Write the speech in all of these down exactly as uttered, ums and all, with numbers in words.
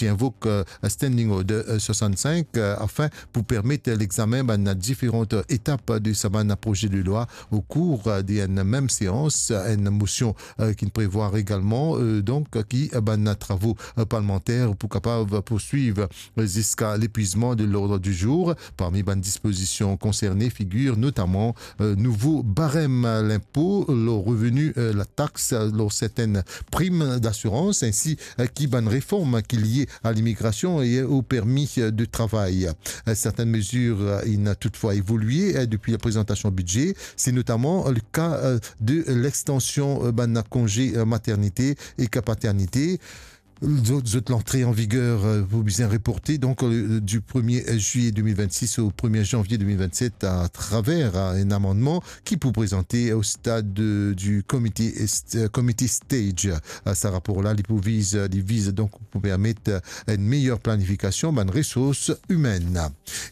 ti invok, euh, Standing Order, euh, swasann-sink, euh, afin pou permet lexamen bann diferan etap de sa bann proze de lwa okour, euh, de enn mem seans. Enn mosion, euh, ki prevwar egalman, euh, donk, ki, euh, bann travo, euh, parlmanter pou kapav pourswiv, euh, ziska lepwizman de lord du jour. Parmi bann dispozision konserne figir notaman, euh, nouvo barem linpo lor reveni, euh, latax, euh, lor sertenn prim dasirans, ensi, euh, ki bann reform ki lie a limigrasion e o permi, euh, de travay. Euh, sertenn mezir, euh, inn toutfwa evolie, euh, depi la prezantasion bidze. Se notaman le ka, euh, de lextansion, euh, bann konze, euh, maternite ek paternite. Zot, zot lantre an viger, euh, pou bizin reporte, donk, euh, du premier juillet deux mille vingt-six au premier janvier deux mille vingt-sept atraver, euh, enn amannman ki pou prezante o stad, euh, du committee est-, euh, committee stage. Euh, sa rapor la, li pou viz, li viz donk pou permet, euh, enn meyer planifikasion bann resours imenn.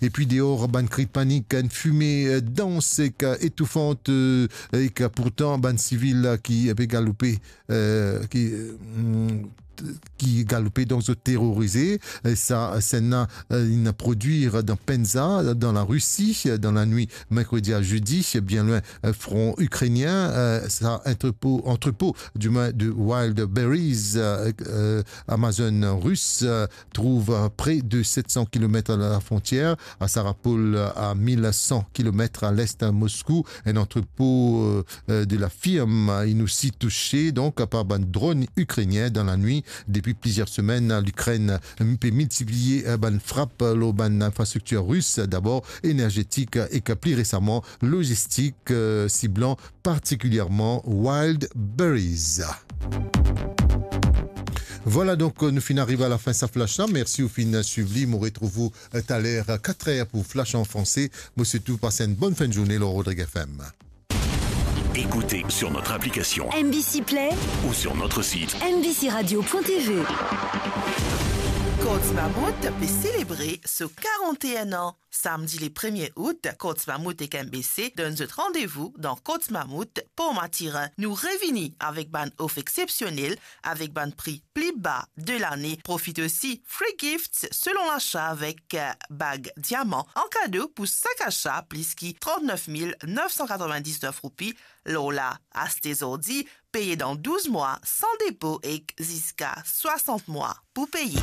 Epi deor, bann kri panik, enn fime, euh, dans ek, euh, etoufant, euh, ek pourtan bann sivil, euh, ki pe galoupe, euh, ki, euh, ki galoupe, donk zot terorize. Euh, sa, senn la, euh, inn prodwir dan Penza, dan Larisi, dan lanwit merkredi a zedi, bien lwin, euh, fron ikrenien. Euh, sa antrepo, antrepo, dimwin, de wild berries, euh, euh, Amazon ris, euh, trouv, euh, pre de set san kilomet a la frontier, a Sarapol, euh, a mil san kilomet a lest a Moskou. Enn antrepo, euh, euh, de la firm, euh, inn osi touse, donk, par bann dronn ikrenien dan lanwit. Depi plizier semenn, Likrenn, euh, pe miltipliye, euh, bann frap, euh, lor bann infrastriktir ris, dabor enerzetik, euh, ek pli resaman lozistik, euh, siblan partikilerman wild berries. Vwala, donk, euh, nou finn ariv a la fin sa flash la. Mersi ou finn swiv li. Mo retrouv ou, euh, taler, euh, katrer pou flash an franse. Mo swet ou pas enn bonn fin de zourne lor Rodrig F M. Écoutez sur notre application M B C Play ou sur notre site M B C radio point T V. Côtes Mammouth pe selebre so karant-enn an. Samdi le premie out, Côtes Mammouth ek M B C donn zot randevou dan Côtes Mammouth, Port Mathurin. Nou revini avek bann ofer exsepsionel, avek bann pri pli ba de lane. Profit osi free gifts selon lasa avek, euh, bag diaman an kado pou sak asa plis ki trant-nef mil nef san katrovin-diz-nef roupi. Lor la, aste zordi, peye dan douz mwa san depo ek ziska swasant mwa pou peye.